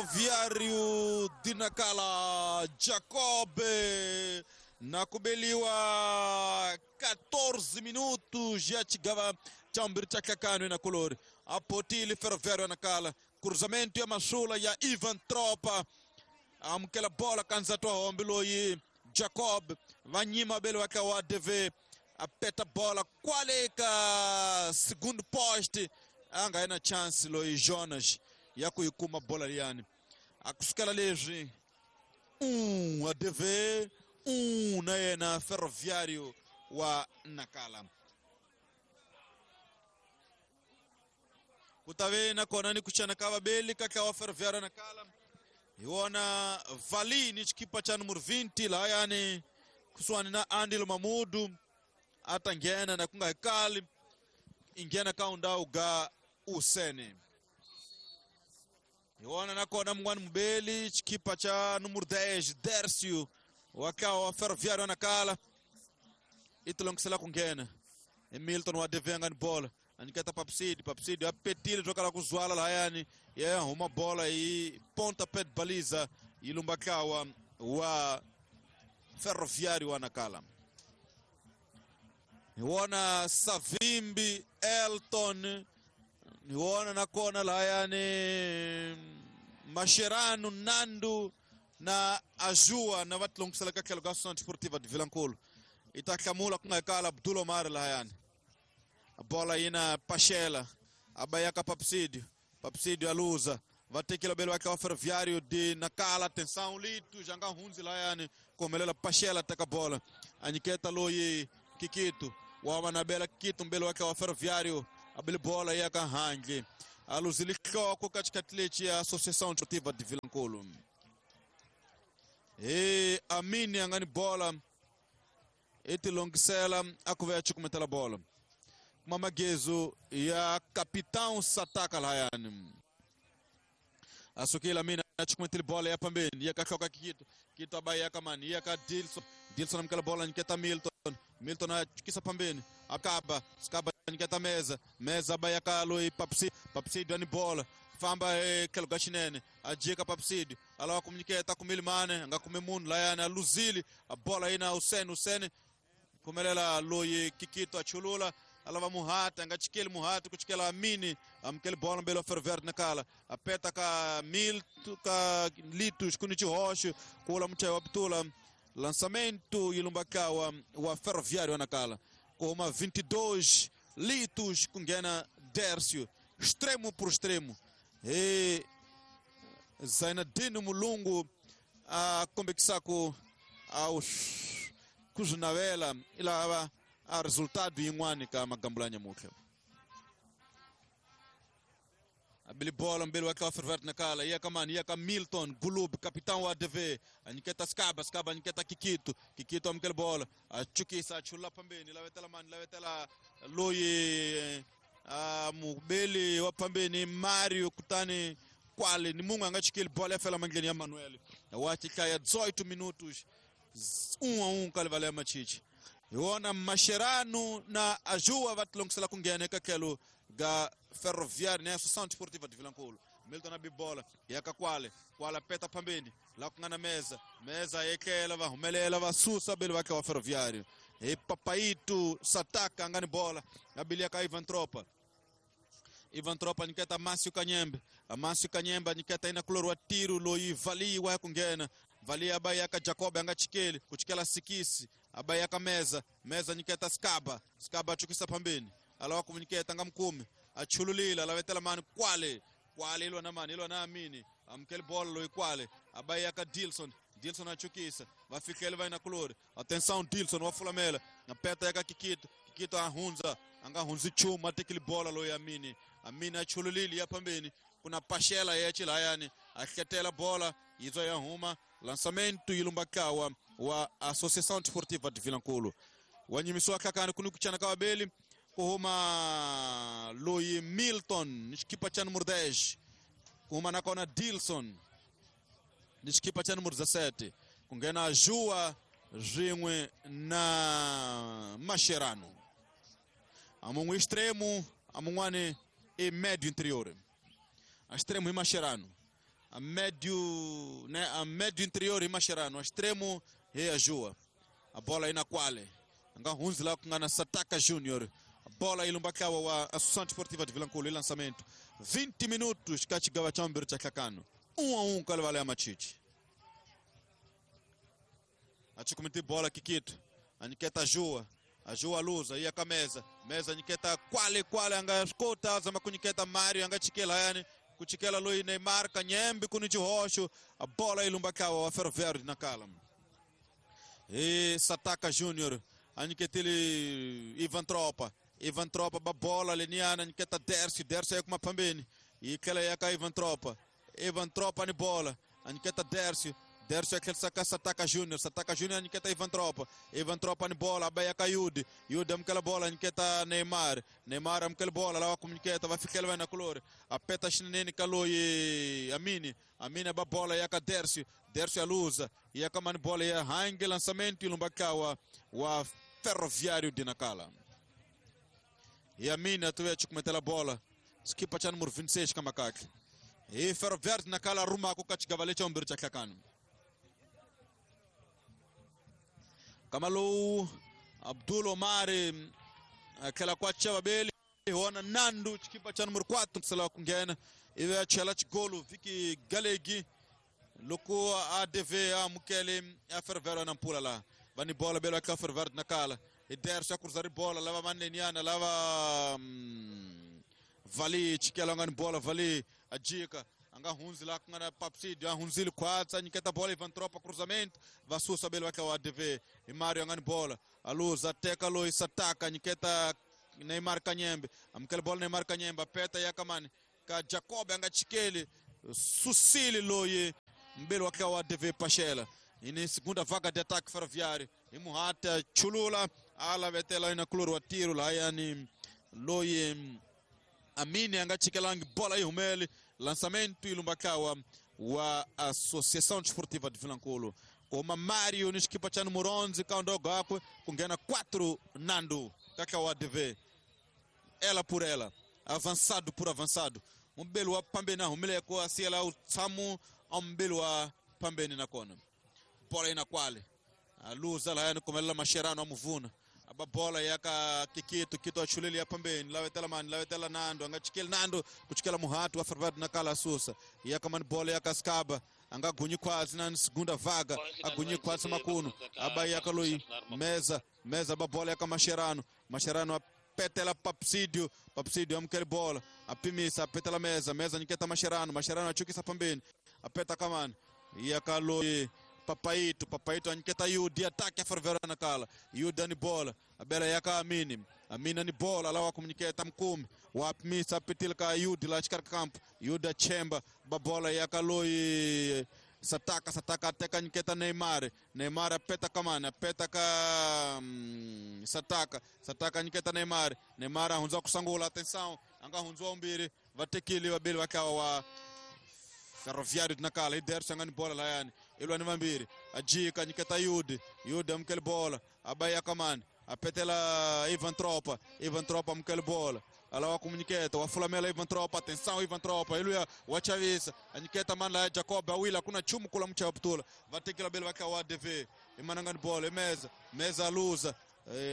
Ferroviário de Nacala. Jacob na kubeliwa 14 minutos ya chigava cha mbirhi cha hlakano na kulori a potile Ferroviário ya Nacala. Cruzamento ya masula ya Ivan Tropa amukela bola kanzatu wa hombe loyi Jacob va nyima bele wa wa DV a peta bola kwale ka segundo poste a nga yi na chance loyi Jonas ya ku yi kuma bola liyani. A kusukela leswi a DV na yena Ferroviário wa Nacala. Ku ta ve nakona ni ku chana ka vabeli ka tlawa Ferroviário Nacala. Hi wona Vali ni xikipa cha numero 20 lahayani kusuhani na Andilo Mamudu a ta nghena na ku nga hi kali i nghena ka undhawu ga Usene. Hi wona nakona mun'wani mubeli xikipa cha numero 10 Dercio wa tlawa wa Ferroviário Nacala i tilongisela ku nghena. I Milton wa DV a nga ni bola a nyiketa Papsidi. Papsidi a petile byo kala ku zwala lahayani ya huma bola hi ponta pet baliza yi lumba tlawa wa Ferroviário wa Nacala. Hi wona Savimbi Elton, hi wona nakona lahayani Mascherano Nando na Ajua na va tilongisela ka tlhelo ka Associação Desportiva de Vilankulo. I ta hlamula ku nga kala Abdul Omar lahayani. Bola yi na Pachela a ba ya ka Papsídio. Papsídio aluza va tekela bele va tlawa Ferroviário de Nacala. Atenção Lito já nga hundzi lahayani ku humelela Pachela teka bola a nyiketa loyi Kikito wa manabela Kikito mbele wa tlawa Ferroviário a bele bola ya ka handle a luzile nhloko ka xikhathi lexi ya Associação Desportiva de Vilankulo. He Amini a nga ni bola i tilongisela a ku ve a cukumetela bola kuma magezu ya Capitão Sataka lahayani. A sukile Amini a cukumetile bola ya pambeni ya ka hloka Kikito. Kikito a ba ya ka mani ya ka Dilson. Dilson amukela bola nyiketa Milton. Milton a chukisa pambeni akaba Skaba nyiketa Meza. Meza ba ya ka loyi Papsi. Papsi ni bola famba tlhelo ka xinene a jika Papsidi a lava ku nyiketa kumile mane a nga kumi munhu layani a luzile a bola yi na Usene. Usene phumelela loyi Kikito a chulula a lava Muhati a nga chikeli Muhati ku chikela Amini amukeli bola mbele wa Ferroviário Nacala a peta ka Milto ka Litos ku ni xihoxo kula muchayi wa Butula. Lançamento yi lumba tlawa wa Ferroviário Nacala ku huma 22 Litos ku nghena Dercio extremo por extremo. He Zainadino Mulungu a kombekisaka a ku swi navela i lava a resultado yin'wani ka magambula ya nyamutlha. A bili bola mbele wa tlawa Ferroviário Nacala ya ka mani ya ka Milton Gulub capitão wa ADV a nyiketa Skaba. Skaba a nyiketa Kikito. Kikito amukela bola a chukisa a chula pambeni lavetela mani lavetela loyi a mubeli wa pambeni Mario kutani kwale ni munhu a nga chikeli bola ya fela mandleni ya Manuel wa xihlaya 18 minutos 1-1 ka livala ya Machichi. Hi wona Mascherano na Ajua va tilongisela ku nghena eka tlhelo ga Ferroviário na Associação Desportiva de Vilankulo. Milton a bibola ya ka kwale kwala peta pambeni la ku nga na Meza. Meza yekela va humelela va susa bele va tlawa Ferroviário. Hi Papaito Sataka a nga ni bola a bili ka Ivan Tropa. Ivan Tropa nyiketa Márcio Kanyembe. Márcio Kanyembe nyiketa ina kulori wa tiro loyi Vali wa ku nghena. Vali a ba ya ka Jacob a nga chikeli ku chikela Sikisi a ba ya ka Meza. Meza nyiketa Skaba. Skaba a chukisa pambeni a lava ku nyiketa nga mukumi a chululile a lavetela mani kwale kwale ilwa na mani ilwa na Amini amukeli bola loyi kwale a ba ya ka Dilson. Dilson a chukisa va fikele va ina kulori. Atenção Dilson wa fulamela na peta ya ka Kikito. Kikito a hundza a nga hundzi nchumu a tekile bola loyi Amini. Amini a chululile ya pambeni kuna Pachela ya chilayani a hletela bola yi ya huma. Lançamento yi lumba tlawa wa Associação Desportiva de Vilankulo. Wa nyimisiwa hlakani ku ni ku chana ka vabeli ku huma loyi Milton ni xikipa cha numero 10 ku huma nakona Dilson ni xikipa cha numero 17 ku nghena Jua swin'we na Mascherano. A mun'we extremo a mun'wani i médio interior. A extremo i Mascherano. A médio, né, a médio interior e Mascherano, a extremo e a Jua. A bola aí na quale. Anga hunzi lá com a Sataka Júnior. A bola aí lumbakawa wa Associação Desportiva de Vilanculo e lançamento. 20 minutos kachigawa chambiro cha Kakano. 1-1 kalevale ya Machichi. Achikumiti bola Kikito. Aniketa Jua. A Jua luza ia ka mesa. Mesa aniketa quale quale anga escuta zama kuniketa Mário anga chikela yani. Kuchikela lui Neymar Kanyembe kunichi roxo. A bola aí lumbakawa wa Ferroviário de Nacala. E Sataka Júnior. Aniketele Ivan Tropa. Ivan Tropa ba bola leniana aniketa Dércio. Dércio aí com uma pambene. E aquela aí ka Ivan Tropa. Ivan Tropa ni bola. Aniketa Dércio. Dércio é aquele saca Sataka Júnior. Sataka Júnior aniketa Ivan Tropa. Ivan Tropa ni bola. Abaia ka Yudi. Yudi amkela bola aniketa Neymar. Neymar amkela bola. Lá com aniketa vai ficar vai na color. Apeta chinene kaloi Amini. Amini ba bola yaka Dércio. Dércio alusa. Yaka mani bola ya hange lançamento ilumbakawa wa Ferroviário de Nacala. E Amini atuwe chukumetela bola. Skipa cha número 26 kamakaki. E Ferroviário de Nacala arruma kukachigavale cha umbiri cha Kakano. Kamalu Abdul Omar aquela quatro babeli ona Nando chikipa cha número 4 kusala kungena iwe chela chigolo Viki Galegi loko ADV a mukele a Ferroviário na pula lá vani bola belo aquela Ferroviário na cala e Dércio a cruzar bola lava maneniana lava Vali chikela ngani bola Vali a dica anga hunzi lá com a Papsídio, a hunzili quatro, aniketa bola Ivan Tropa cruzamento, vassusa belo aqui o ADV, e Mário angani bola, a luz, ateca Luiz, ataca, aniketa Neymar Kanyembe, amkele bola Neymar Kanyembe, apeta yakamani, ka Jacob anga chikele, Sucile loye, mbelo aqui o ADV Pachela, e na segunda vaga de ataque ferroviário, e Muhata Chulula, ala vetela ina kloro atiro lá yani loye Amini anga chikelangi bola ihumele lançamento ilumbakawa wa Associação Desportiva de Vilanculo. Koma Mário nishikipa cha número 11 kaondogo akwe kungena 4 Nando kaka wa ADV. Ela por ela, avançado por avançado. Mbelo wa pambeni na humele ko asiela utsamu mbelo wa pambeni na kona. Bola ina kwale. Aluza la yani komelela Mascherano amuvuna. Aba bola yaka Kikito, Kito achuleli ya pambeni, lawetela mani, lawetela Nando, anga chikele Nando, kuchikela Muhatu, wa na kala susa. Yaka mani bola yaka Skaba, anga gunyi kwazi na segunda vaga, agunyi kwazi makuno, aba yaka lui, mesa, mesa aba bola yaka Mascherano, Mascherano apetela Papsídio, Papsídio amkele bola, apimisa, apetela mesa, mesa niketa Mascherano, Mascherano achukisa pambeni, apeta kamani, yaka lui, Papaito, Papaito aniketa Yudi, ataque a Ferroviário na cala. Yudi ni bola, a bela yaka Amini. Amini ni bola, lá wa comuniceta mkumi. Wa apimisa apetilka Yudi lá de campo. Yudi chemba, babola yaka loi Sataka, Sataka ateka niketa Neymar. Neymar apeta kamana, apeta ka Sataka, Sataka niketa Neymar. Neymar ahunza kusangula, atenção, anga hunzwa umbiri, vatekili wabili wakawa wa Ferroviário de Nacala, e Dércio angani bola lá yani. Ilwani vambiri, ajika niketa Yudi, Yudi amkele bola, abaya kamani, apetela Ivan Tropa, Ivan Tropa amkele bola. Ala wa comuniceta, wa fulamela Ivan Tropa, atenção Ivan Tropa, iluya wa chavisa, aniketa man la Jacob awila kuna chumu kula mcha putula. Vatekila bele waka wa ADV, imanangani bola, mesa, mesa luza.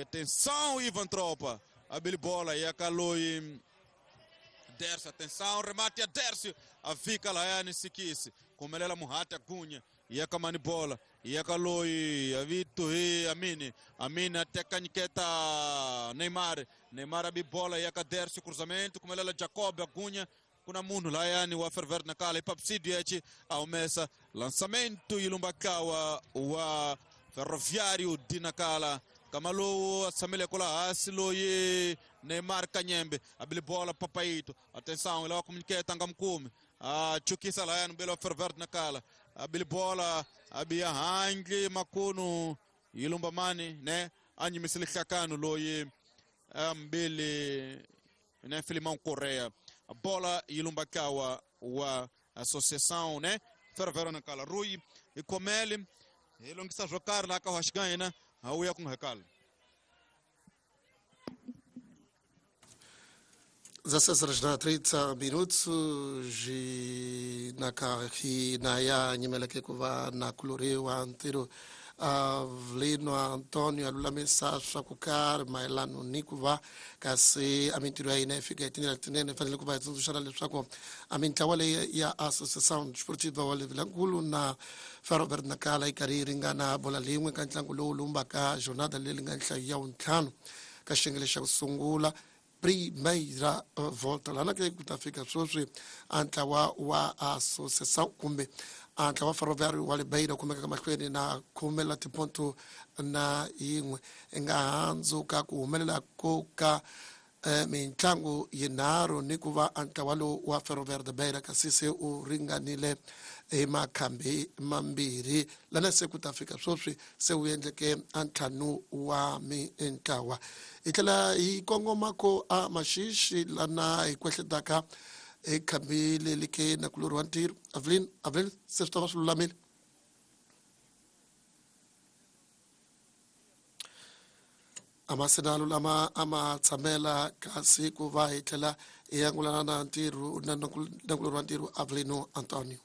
Atenção Ivan Tropa, abili bola yakaloi Dércio, atenção, remate a Dércio, a fica lá yani sikisi, kumelela Muhata Gunha, yakamani bola, yakaloi, avito e Amini, Amini até caniketa Neymar, Neymar abi bola, yaka Dércio, cruzamento, kumelela Jacob, a Gunha, kuna munhu lá yani wa Ferver na kala, ipapsidio echi, aumesa, lançamento ilumbakawa wa Ferroviário de Nacala. Kamalu asamile kula asilo ye Neymar Kanyembe abili bola Papaito, atenção ela comuniceta anga mkumi chukisa la yani belo Ferver na kala abili bola abia hangi makunu ilumba mani ne anyi misili kakanu loye ambili ne Filimão Correa bola ilumba kawa wa associação né Ferver na kala Rui e Comele elongisa jokar la ka hashgaina hauya com recalo. 16 horas 30 minutos e Na ka hina ya nyimeleke ku va na kuloriwa ntirho Avelino Antonio a lulamisa swa ku karhi mayelano ni ku va kasi a mintirho ya hina yi fika hi tindlela letinene. Hi fanele ku va hi tsundzuxana leswaku a mintlawa leyi ya Associação Desportiva wa Vilankulu na Ferroviário Nacala yi karhi yi ringana bola lin'we ka ntlangu lowu lumbaka jornada leyi nga nhlayo ya wuntlhanu ka xiyenge xa ku sungula, Primeira Volta. Lana ke ku ta fika sweswi a ntlawa wa Associação kumbe a ntlawa Ferroviário wa le Beira kumekaka mahlweni na khume la tiponto na yin'we, nga handzuka ku humelela ko ka mintlangu yinharhu ni ku va a ntlawa lowu wa Ferroviário de Beira kasi se u ringanile hi makhambi mambirhi. Lana se ku ta fika sweswi se wu endleke a ntlhanu wa mintlawa. Hi tlhela hi kongoma ko a Maxixi lana hi kwehletaka hi khambi leri ke nakulorhi wa ntirho Avelin. Avelin, se swi ta va swi lulamile a ma sena lulama a ma tshamela, kasi ku va hi tlhela hi angulana na ntirho na nakulorhi wa ntirho Avelino Antonio.